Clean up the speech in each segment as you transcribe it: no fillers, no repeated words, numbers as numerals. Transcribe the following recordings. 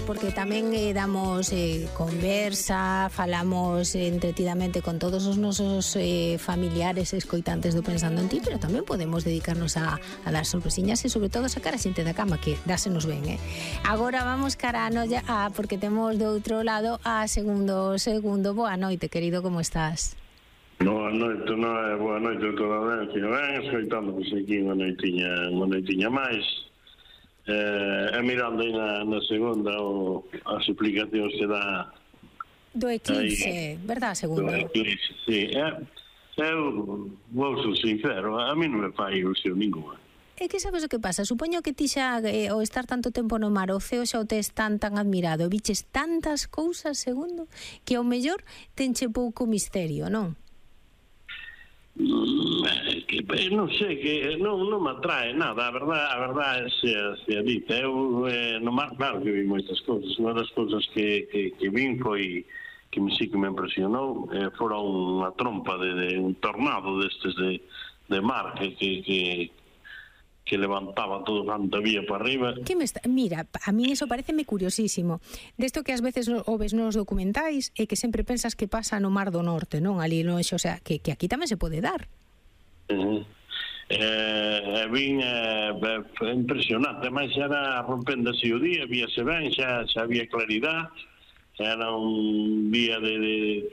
porque tamén damos conversa, falamos entretidamente con todos os nosos familiares escoitantes do Pensando en Ti, pero tamén podemos dedicarnos a dar sorpresiñas e sobre todo sacar a xente da cama, que dásenos ben, Agora vamos cara a noia, porque temos do outro lado a segundo. Boa noite, querido, como estás? Boa noite, toda a audiencia. Ben, escoitando pois aquí unha noitiña máis. Mirando aí na segunda as explicacións que dá do eclipse, verdad, segunda? Do eclipse, sí. Eu vou ser sincero, a mí non me fai ilusión ninguna. É que sabes o que pasa? Supoño que ti xa, ao estar tanto tempo no mar, o ceo xa o tes tan admirado, viches tantas cousas, segundo, que ao mellor tenche pouco misterio, non? Non sei, que non me atrae nada, a verdade se a dita. Eu no mar, claro que vi moitas cousas. Unha das cousas que vin foi que sí que me impresionou, fora unha trompa de un tornado destes de mar que levantaba todo canto había para arriba. Mira, a mí eso pareceme curiosísimo. Desto que ás veces o ves nos documentais e que sempre pensas que pasa no Mar do Norte, non? Ali no Eixo, o sea, que aquí tamén se pode dar. Vin impresionante, mas era rompendo así o día, víase ben, xa había claridade. Era un día de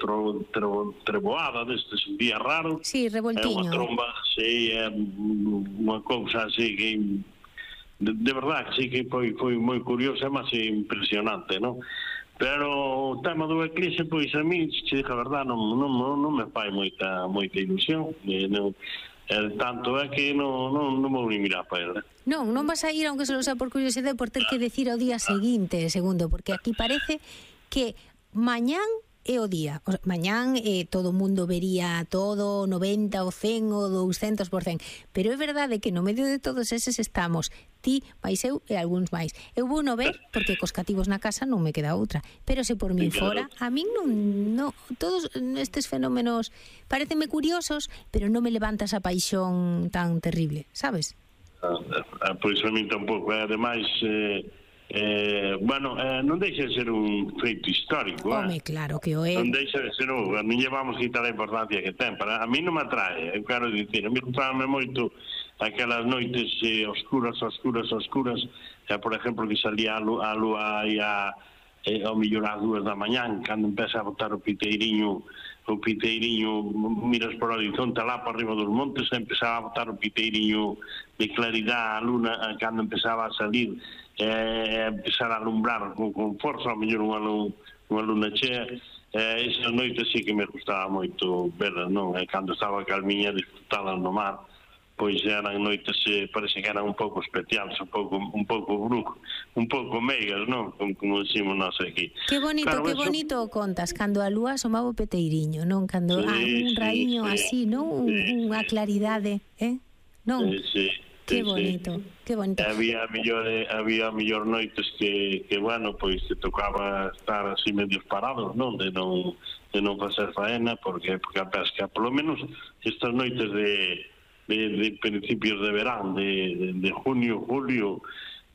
treboada, destes, un día raro. Sí, revoltiño. Unha tromba, sí, unha cousa así que de verdade que sí que foi moi curiosa, mas impresionante, non? Pero o tema do eclipse, pois a mí, se diga a verdade, non me fai moita ilusión. Tanto é que non vou ni mirar para ele. Non vas a ir, aunque só sea por curiosidade, por ter que decir ao día seguinte, segundo, porque aquí parece que mañán é o día. Mañán todo o mundo vería todo, 90, o 100, o 200%. Pero é verdade que no medio de todos eses estamos ti, máis eu e algúns máis. Eu vou no ver, porque cos cativos na casa non me queda outra. Pero se por min fora, a min non todos estes fenómenos pareceme curiosos, pero non me levanta esa paixón tan terrible, sabes? Pois a min tampouco. Ademais, non deixa de ser un feito histórico. Home, claro que o é. Non deixa de ser non lle vamos quitar a importancia que ten. Para a mí non me atrae, eu quero dicir, a mí gustame moito aquelas noites oscuras, por exemplo, que salía a lúa aí ao millor ás 2 da mañán, cando empeza a botar o piteiriño, miras por o horizonte lá para arriba dos montes, empezaba a botar o piteiriño de claridade a luna, cando empezaba a salir, empezar a alumbrar con forza, ao mellor unha luna chea. Esas noites sí que me gustaba moito verlas, non? Cando estaba calmiña, disfrutadas no mar, pois eran noites, parece que eran un pouco especiales, un pouco brujo, un pouco meigas, non? Como decimos nós aquí. Que bonito, claro, que bonito contas, cando a lúa asomaba o peteiriño, non? Cando un raíño así, non? Unha claridade, non? Sí. Que bonito, que bonito. Había mellor noites que bueno, pois te tocaba estar así medios parados, non? De non facer faena, porque a pesca, polo menos estas noites de principios de verán, de junio, julio,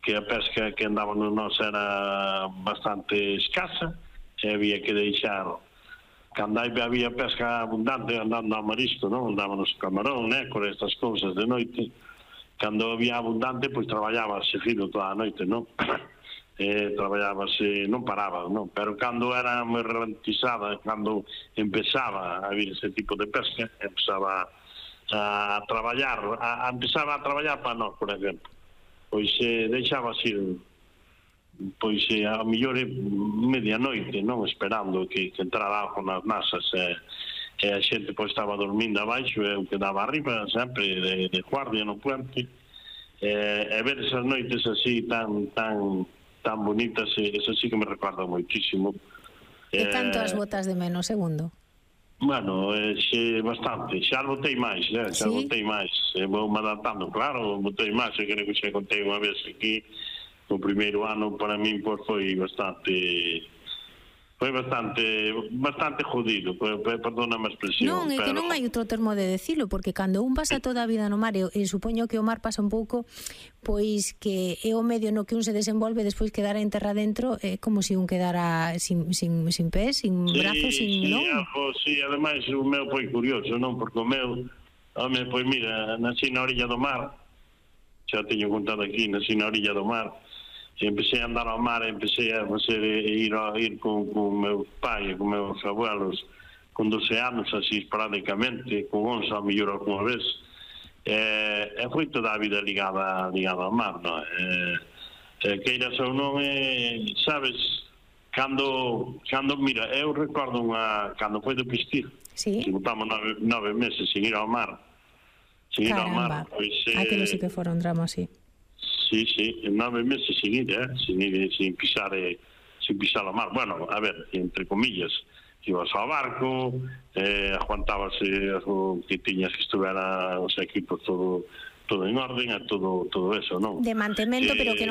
que a pesca que andábamos nós era bastante escasa, e había que deixar, cando había pesca abundante andando a marisco, non? Andábamos camarón, nécor, estas cousas de noite. Cando había abundante, pois traballábase fino toda a noite, non? Traballábase, non paraba, non? Pero cando era moi ralentizada, cando empezaba a vir ese tipo de pesca, empezaba a traballar para nós, por exemplo. Pois deixaba así, pois a mellor medianoite, non? Esperando que entrara algo nas nasas, e a xente pois estaba dormindo abaixo, e eu quedaba arriba sempre de guardia no puente, e ver esas noites así tan bonitas, eso sí que me recorda moitísimo. E tanto as botas de menos, segundo? Bueno, bastante, xa botei máis, botei máis, vou me adaptando, claro, botei máis, eu creo que xa contei unha vez aquí, o primeiro ano para min pois foi bastante foi bastante jodido, perdóname a expresión. Non, é que non hai outro termo de decilo, porque cando un pasa toda a vida no mar, e supoño que o mar pasa un pouco, pois que é o medio no que un se desenvolve, despois quedar en terra dentro, é como se un quedara sin pés, sin brazos, sin... non? Sí, ademais o meu foi curioso, non? Porque o meu, pois mira, nací na orilla do mar, xa teño contado aquí, nací na orilla do mar, empecé a andar ao mar, empecé a ir con meus pais, con meus abuelos, con 12 anos, así esporádicamente, con 11 a mellor alguna vez, e foi toda a vida ligada ao mar, non? Queiras ou non, sabes, cando mira, eu recordo cando foi do Pistir, que botamos 9 meses sin ir ao mar, Caramba, pois... aquilo sí que fora un drama, sí. Sí, 9 meses sin pisar a mar. Bueno, a ver, entre comillas, ibas ao barco, aguantábase o que tiñas que estuvera os equipos todo en orden, todo eso, non? De mantemento, pero que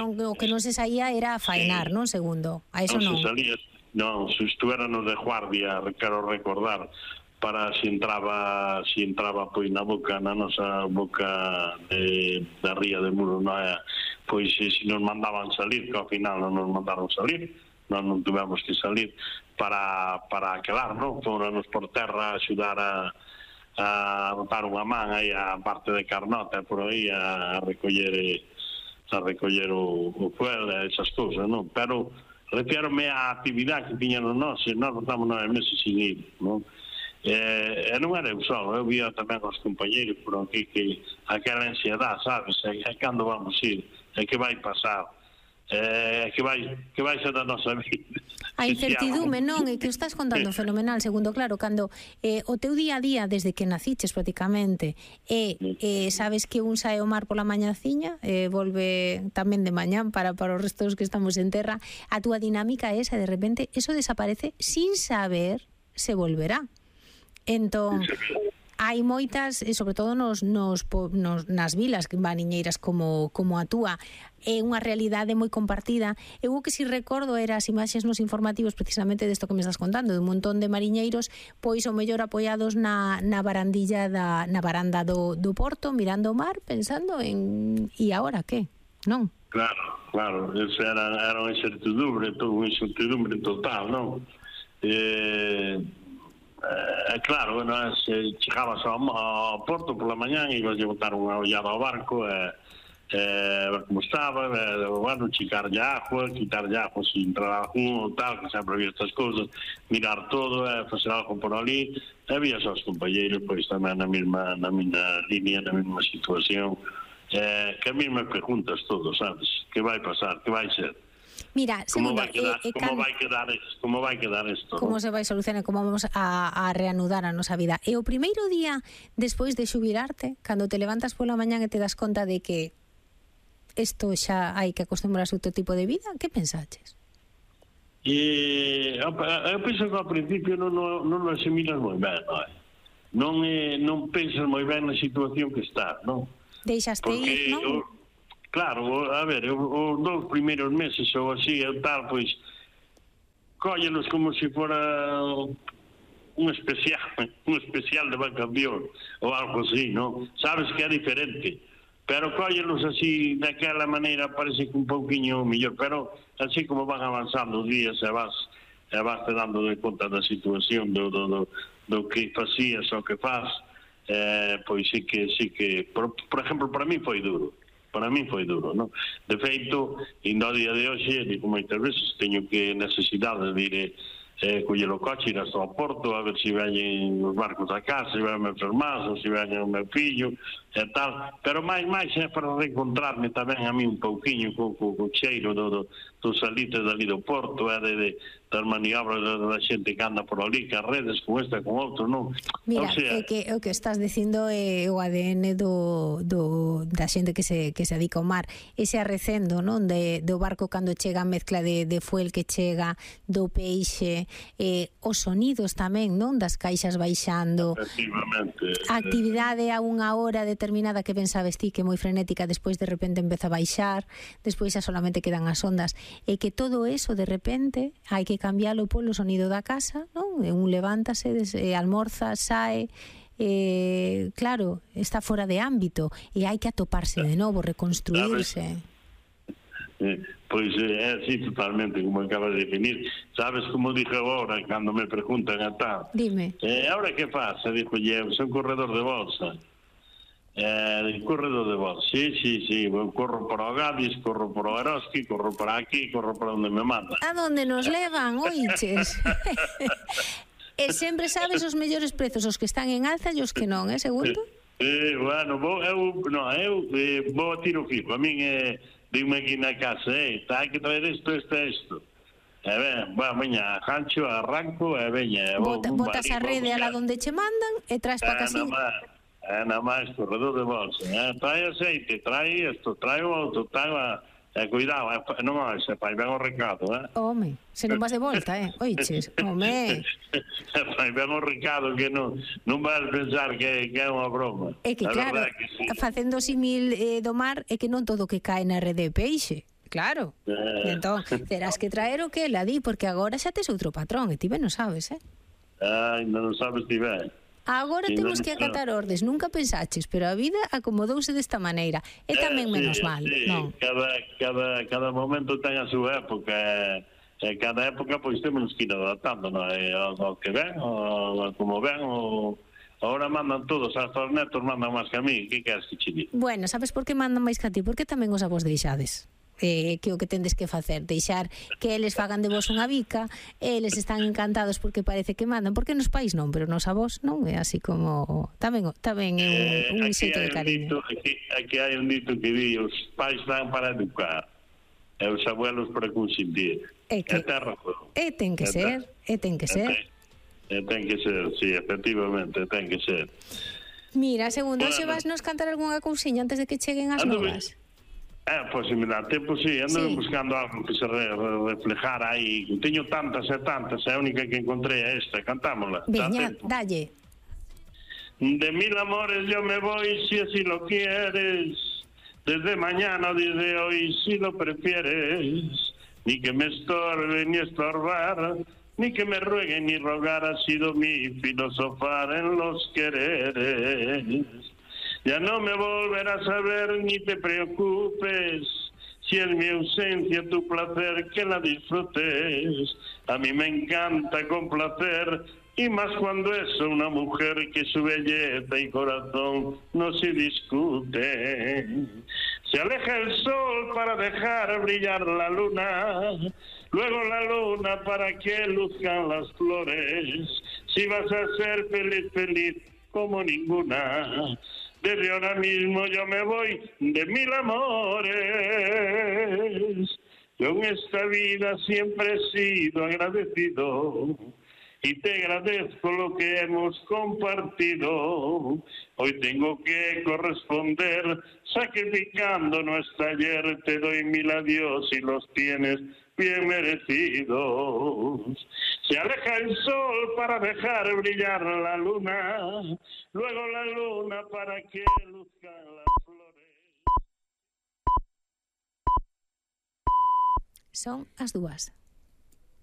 non se saía era a faenar, non, segundo? A eso non. Non, se estuvéranos de guardia, quero recordar, para se entraba pois na nosa boca da ría de Muro, pois se nos mandaban salir, que ao final non nos mandaron salir, non tuvemos que salir para quedar, non? Fóranos por terra a axudar a botar unha man aí a parte de Carnota por aí a recoller o fuel e esas cousas, non? Pero refírome á actividade que tiñan nós estamos 9 meses sin ir, non? E non era eu só, eu via tamén os compañeiros por aquí que aquela ansiedade, sabes, é cando vamos ir, é que vai pasar, é que vai ser da nosa vida. A incertidume, non? É que o estás contando fenomenal, segundo, claro, cando o teu día a día, desde que naciches prácticamente, sabes que un sae ao mar pola mañaciña, volve tamén de mañán para os restos que estamos en terra, a túa dinámica é esa, de repente, eso desaparece sin saber se volverá. Entón, hai moitas, sobre todo nas vilas mariñeiras como a túa, é unha realidade moi compartida. Eu o que si recordo era as imaxes nos informativos precisamente desto que me estás contando, de un montón de mariñeiros pois o mellor apoiados na baranda do porto, mirando o mar, pensando en e agora que, non? Claro, eso era unha incertidumbre total, non? Claro, chegabas ao porto pola mañán e ibas a botar unha ollada ao barco ver como estaba, bueno, chicarlle agua, quitarlle agua se entrar algún ou tal, que sempre había estas cousas, mirar todo, facer algo por ali, e vías aos compañeiros pois tamén na mesma línea, na mesma situación, que a mesma preguntas todo, sabes, que vai pasar, que vai ser. Mira, segundo, como vai quedar isto? Como se vai solucionar, como vamos a reanudar a nosa vida? E o primeiro día despois de xubilarte, cando te levantas pola mañán e te das conta de que isto xa hai que acostumbrarse a outro tipo de vida, que pensaches? Eu penso que ao principio non asimilas moi ben, non pensas moi ben na situación que estás, non? Deixaste ir, non? Claro, a ver, os 2 primeiros meses ou así, eu tal, pois, cóllelos como se fora un especial de vacación ou algo así, non? Sabes que é diferente, pero cóllelos así, daquela maneira, parece que un pouquiño mellor, pero así como van avanzando os días e vas te dando de conta da situación do que facías ou que faz, pois sí que, por exemplo, para mí foi duro. Non? De feito, indo ao día de hoxe, digo moitas veces, teño que necesidade de ir coller o coche, ir hasta ao porto, a ver se veñen os barcos a casa, se veñen meus hermanos, se veñen o meu fillo, e tal. Pero máis é para reencontrarme tamén a mí un pouquiño co cheiro dos salitres dali do porto, das maniobras da xente que anda por ali, que as redes con esta, con outro, non? Mira, o que estás dicindo é o ADN da xente que se adica ao mar, ese arrecendo, non? Do barco cando chega a mezcla de fuel que chega, do peixe, os sonidos tamén, non? Das caixas baixando, a actividade a unha hora determinada determinada que ben sabes ti, que é moi frenética, despois de repente empeza a baixar, despois xa solamente quedan as ondas, e que todo eso de repente hai que cambiálo polo sonido da casa, non? E un levántase, almorza, sae, claro, está fora de ámbito e hai que atoparse de novo, reconstruirse. Pois é así totalmente como acabas de definir. Sabes como dixo agora cando me preguntan a tal? Dime. Ahora que pasa? Dixo, son corredor de bolsa. Corredor de bolsa, sí, corro por o Gadis, corro por o Eroski, corro por aquí, corro por onde me manda. A donde nos levan, oiches? E sempre sabes os mellores prezos, os que están en alza e os que non, segundo? Bueno, eu vou a tiro fijo. A min dime aquí na casa, hai que traer isto. E ben, veña, gancho, arranco, e veña. Botas a rede a la donde che mandan e traes pa casín. Nada máis, corredor de bolsa. Trae aceite, trae isto, trae o outro, cuidado, non se fai ben o recado, Home, se non vas de volta, oiches, home. Fai ben o recado que non vas pensar que é unha broma. É que claro, facendo simil do mar, é que non todo que cae na rede de peixe. Claro. Entón, terás que traer o que ela di, porque agora xa tes outro patrón, e ti ben non sabes, Ai, non sabes ti ben. Agora temos que acatar ordes, nunca pensaches, pero a vida acomodouse desta maneira. E tamén menos mal, non? Cada momento ten a súa época, e cada época pois temos que ir adaptando, non? Ao que ven, como ven, agora mandan todos, hasta os netos mandan máis que a mí, que queres que che diga? Bueno, sabes por que mandan máis que a ti? Porque tamén os avós deixades. Que o que tendes que facer, deixar que eles fagan de vos unha bica, eles están encantados porque parece que mandan, porque nos pais non, pero nos avós non, é así como tamén é un xeito de cariño. Aquí hai un dito que di, os pais dan para educar e os abuelos para consentir. E ten que ser. Ten que ser, sí, efectivamente, ten que ser. Mira, segundo, xe vas nos cantar algunha cousiña antes de que cheguen as novas? Pois se me dá tempo, sí, ando buscando algo que se reflejara aí. Teño tantas e tantas, a única que encontrei é esta, cantámola. Veña, dalle. De mil amores yo me voy si así lo quieres, desde mañana o desde hoy si lo prefieres, ni que me estorbe ni estorbar, ni que me ruegue ni rogar, ha sido mi filosofar en los quereres. Ya no me volverás a ver ni te preocupes, si es mi ausencia tu placer que la disfrutes. A mí me encanta complacer, y más cuando es una mujer que su belleza y corazón no se discute. Se aleja el sol para dejar brillar la luna, luego la luna para que luzcan las flores. Si vas a ser feliz, feliz como ninguna, desde ahora mismo yo me voy de mil amores. Yo en esta vida siempre he sido agradecido y te agradezco lo que hemos compartido. Hoy tengo que corresponder sacrificando nuestro ayer. Te doy mil adiós y los tienes bien merecidos. Se aleja el sol para dejar brillar la luna, luego la luna para que luzcan las flores. Son as 2.